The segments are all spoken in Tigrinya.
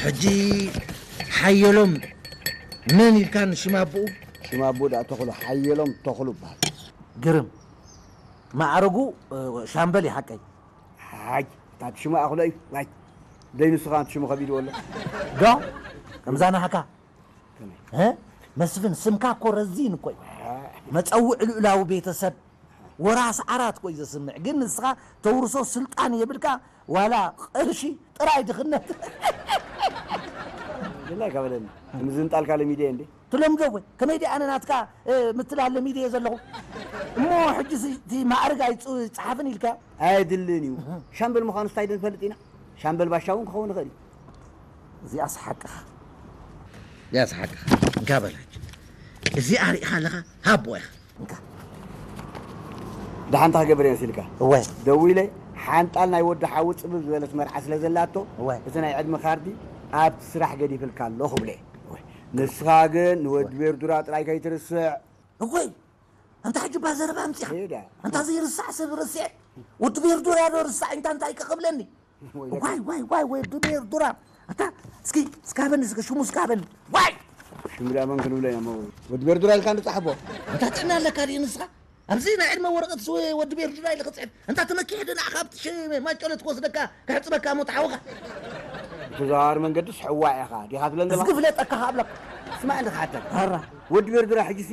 ሕጂ ሓየሎም መን ኢልካ ንሽም ኣቦኡ? ሽም ኣቦኡ ደኣ ተኽሉ፣ ሓየሎም ተኽሉ ይበሃል። ግርም። ማዕረጉ፣ እ፣ ሻምበል እዩ ሓቀይ። ሓይ፣ እታ ሽሙ ኣኽሎ እዩ። ዋይ፣ ደይ ንስኻ ሽሙ ከቢድዎ ኣሎ። ዶ? ከምዛ ናህካ? ከመይ? እ? መስፍን፣ ስምካ እኮ ረዚን እኮ እዩ። መጸውዕ ልኡላዊ ቤተሰብ፣ ወራስ ዓራት እኮ እዩ ዘስምዕ። ግን ንስኻ ተውርሶ ስልጣን የብልካ፣ ዋላ ቅርሺ ጥራይ ድኽነት። ግን ኣይከበደኒ። ምዝንጣልካ ለሚደ እንዴ? ትለምዶ ወይ? ከመይ ደኣ ኣነ ናትካ፣ እ፣ ምትላል ለሚደ እየ ዘለኹ። እሞ ሕጂ ሲ-፣ እቲ ማዕርግ ኣይጽ-፣ ይጽሓፍን ኢልካ? ኣየድልን እዩ። እህ። ሻምበል ምዃኑ ስታይ ንፈልጥ ኢና። ሻምበል ባሻ እውን ክኸውን ይኽእል እዩ። እዚኣስ ሓቅኻ። እዚኣስ ሓቅኻ። እንካ በላች። እዚኣ ርኢኻ ኣለኻ? ሃቦ ኢኻ። እንካ። ደሓን እንታይ ክገብር እየ መሲልካ? እወ። ደዊለ፣ ሓንጣል ናይ ወዲ ሓዊ ጽብብ ዝበለት መርዓ ስለ ዘላቶ፣ እወ። እቲ ናይ ዕድመ ካርዲ ኣብቲ ስራሕ ገዲፍልካ ኣለኹ ብለ። እወ። ንስኻ ግን ንወዲ ቤርዱራ ጥራይ ከይትርስዕ። እወይ፣ ኣንታ ሕጂ እባ ዘረባ ኣምጺኻ። ሄዳ። ኣንታ ዘይርሳዕ ሰብ ረሲዐ። ወዲ ቤርዱራ ዶ ርሳዕ፣ እንታ እንታይ ከ ክብለኒ? ወይ ዋይ፣ ዋይ፣ ዋይ፣ ወዲ ቤርዱራ። ኣታ፣ እስኪ፣ እስካበኒ፣ እስኪ፣ ሽሙ እስካበኒ። ዋይ! ሽሙ ደኣ መን ክንብሎ ኢና፣ እሞ ወዲ ቤርዱራ ኢልካ ንጻሕፎ። ኣንታ ጥዕና ኣለካ ድዩ ንስኻ? ኣብዚ ናይ ዕድመ ወረቐት ስ-፣ ወዲ ቤርዱራ ኢለ ክጽሕፍ። ኣንታ ተመኪሐ ዶ ንዓኻ ኣብቲ ሽ-፣ ማጨሎት ክወስደካ፣ ክሕጽበካ እሞ ተሓውኻ? ብተዘዋዋሪ መንገድስ ሕዋ ኢኻ፣ ዲኻ ትብለኒ ዘለኻ? እስኪ ፍለጠካ ከኣብለካ። ስማዕ እንደ ክሓተካ። ኣራ። ወዲ ቤርዱራ ሕጂሲ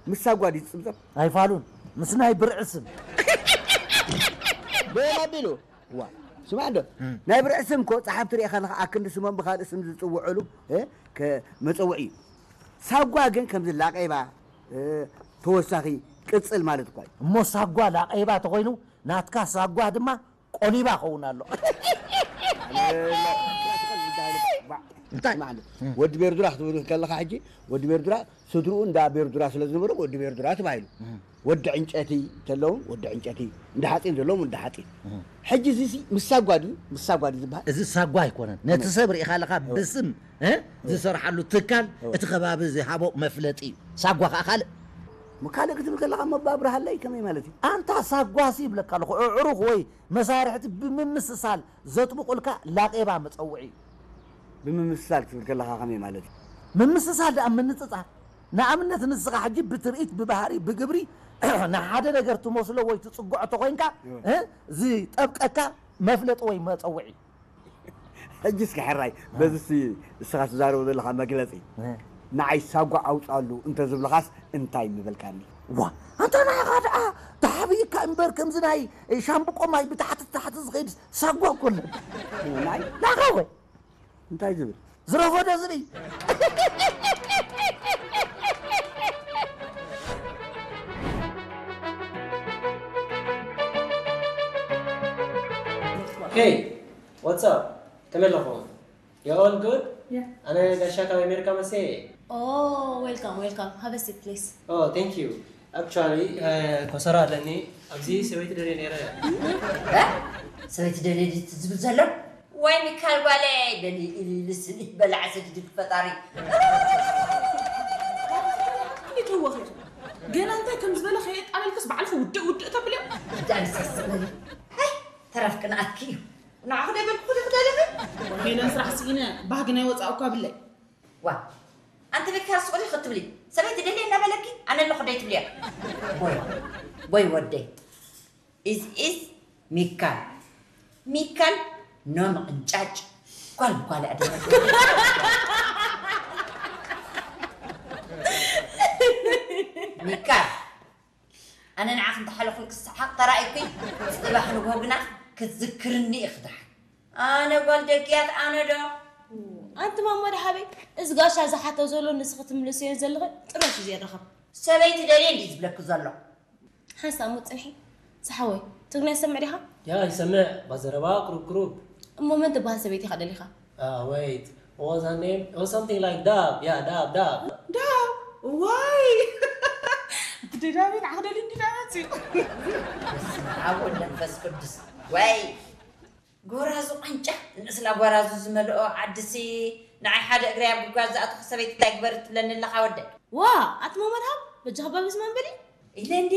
ምስ ሳጓ ድዩ ዝጽብጸብ? ኣይፋሉን። ምስ ናይ ብርዒ ስም። በየን ኣቢሉ? ዋ፣ ስማዕ እንዶ፣ እም። ናይ ብርዒ ስም እኮ ጸሓፍቲ ርኢኻ ኣለኻ፣ ኣክንዲ ስሞም ብኻልእ ስም ዝጽውዑሉ፣ እ፣ ከ-፣ መጸውዒ እዩ። ሳጓ ግን ከምዚ ላቄባ፣ እ፣ ተወሳኺ ቅጽል ማለት እኳ እዩ። እሞ ሳጓ ላቄባ ተኾይኑ፣ ናትካ ሳጓ ድማ ቆሊባ ኸውን ኣሎ። እንታይ? ስማዕ እንዶ፣ እም። ወዲ ቤርዱራ ክትብል ከለኻ ሕጂ፣ ወዲ ቤርዱራ ስድርኡ እንዳ ቤርዱራ ስለ ዝነበሩ ወዲ ቤርዱራ ተባሂሉ። እም። ወዲ ዕንጨቲ ተለውን ወዲ ዕንጨቲ፣ እንዳ ሓፂን ዘለዎም እንዳ ሓፂን። እም። ሕጂ እዚ ሲ ምስ ሳጓ ድዩ? ምስ ሳጓ ድዩ ዝበሃል? እዚ ሳጓ ኣይኮነን። ነቲ ከመይ? ሰብ ርኢኻ ኣለኻ እወ። ብስም፣ እ? እወ። ዝሰርሓሉ ትካል እወ። እቲ ከባቢ ዝሃቦ መፍለጢ እዩ። ሳጓ ከኣ ካልእ። እሞ ካልእ ክትብል ከለኻ እሞ ኣባ ኣብርሃለይ ከመይ ማለት እዩ? ኣንታ ሳጓሲ ይብለካ ኣለኹ። ኣዕሩኽ ወይ መሳርሕቲ ብምምስሳል ዘጥብቑልካ ላቄባ መጸውዒ እዩ። ብምምስሳል ክትብል ከለኻ ከመይ ማለት እዩ? ምምስሳል ደኣ ምንጽጻር። ንኣብነት ንስኻ ሕጂ ብትርኢት፣ ብባህሪ፣ ብግብሪ ንሓደ ነገር ትመስሎ ወይ ትጽግዖ ተኾይንካ፣ እወ። እ፣ ዝጠብቀካ መፍለጢ ወይ መጸውዒ። ሕጂ እስኪ ሕራይ፣ እ። በዚ እስኪ እስኻ ትዛረቦ ዘለኻ መግለጺ፣ እ። ንዓይ ሳጓ ኣውጻሉ እንተ ዝብልኻስ እንታይ ምበልካኒ? ዋ፣ ኣንታ ንዓኻ ደኣ ተሓቢእካ እምበር ከምዚ ናይ ሻምብቆ ማይ ብታሕቲ ታሕቲ ዝኸይድ ሳጓ እኮ ኣሎ። ናይ? ንዓኻ ወይ? እንታይ ዝብል? ዝረፈደ ዝርኢ። Hey, what's up? ከመይ ኣለኹም? You all good? Yeah. ኣነ ጋሻ ካብ ኣሜሪካ መሴ። Oh, welcome, welcome. Have a seat, please. Oh, thank you. Actually, uh, ኮሰራ ኣለኒ። ኣብዚ ሰበይቲ ደልየ ነይረ። እ? ሰበይቲ ደልየ ድዩ ዝብል ዘሎ? ወይ ሚካል ጓለይ፣ በሊ ኢሉ ኢሉ ስኒ በላዕ ሰዲድክ ፈጣሪ። እንዴት ተወኺቱ? ገና እንታይ ከም ዝበለ ከየጣለልክስ ባዕልኺ ውድእ ውድእ ተብልዮ? እንዳ ንሰስ በሊ። ሃይ፣ ተረፍ ቅንኣትኪ እዩ። ንዓኹ ደይ በልኩ ዲኹ ደለኺ? ሄለን ስራሕ ስኢነ፣ ባህጊ ናይ ወፃእ እኳ ብለይ። ዋ፣ ኣንቲ ሚካል ስቕ ዲኺ ክትብሊ? ሰበይቲ ደልየ እናበለኪ፣ ኣነ ኣለኹ ደይ ትብልያ? ቦይ፣ ቦይ ወደይ። ኢዝ ኢዝ ሚካል። ሚካል ኖ ምቕንጫጭ። ጓል ጓል ኣደረገ። ሚካል፣ ኣነ ንዓኺ እንተሓለኹን ክሰሓቕ ተራእይኩ፣ ጽባሕ ንግሆ ግና ክትዝክርኒ ኢኺ ደሓን። ኣነ ጓል ደግያት ኣነ ዶ? ኣንቲ ማሞ ደሃበይ፣ እዚ ጋሻ ዝሓቶ ዘሎ ንስኺ ትምልስዮ ዘለኺ ጥረሽ እዩ ዘይረኸብ። ሰበይቲ ደልየ እንዲ ዝብለኪ ዘሎ። ሓንሳእ እሞ ጽንሒ። ዝሓወይ፣ ትግርኛ ትሰምዕ ዲኻ? ያ፣ ይሰምዕ። ባዘረባ ቁሩብ ቁሩብ። እሞ መን ትበሃል ሰበይቲ ኢኻ ደሊኻ? Uh, wait. What was her name? It was something like Dab. Yeah, Dab, Dab. ዳብ? ዋይ! እቲ ደዳቢ ንዓኽ ደልዩ እንዲ ደኣ መጽዩ። በስመ ኣብ ወወልድ ወመንፈስ ቅዱስ። ዋይ! ጎራዙ ቃንጫ፣ ንእስና ጎራዙ ዝመልኦ ዓድሲ፣ ንዓይ ሓደ እግረይ ኣብ ጉድጓድ ዝኣተኹ ሰበይቲ እንታይ ግበሪ ትብለኒ ኣለኻ ወደይ? ዋ! ኣቲ ማማ ደሃብ፣ በጃኻ ባብስ ማንበሊ? ኢለ እንዲ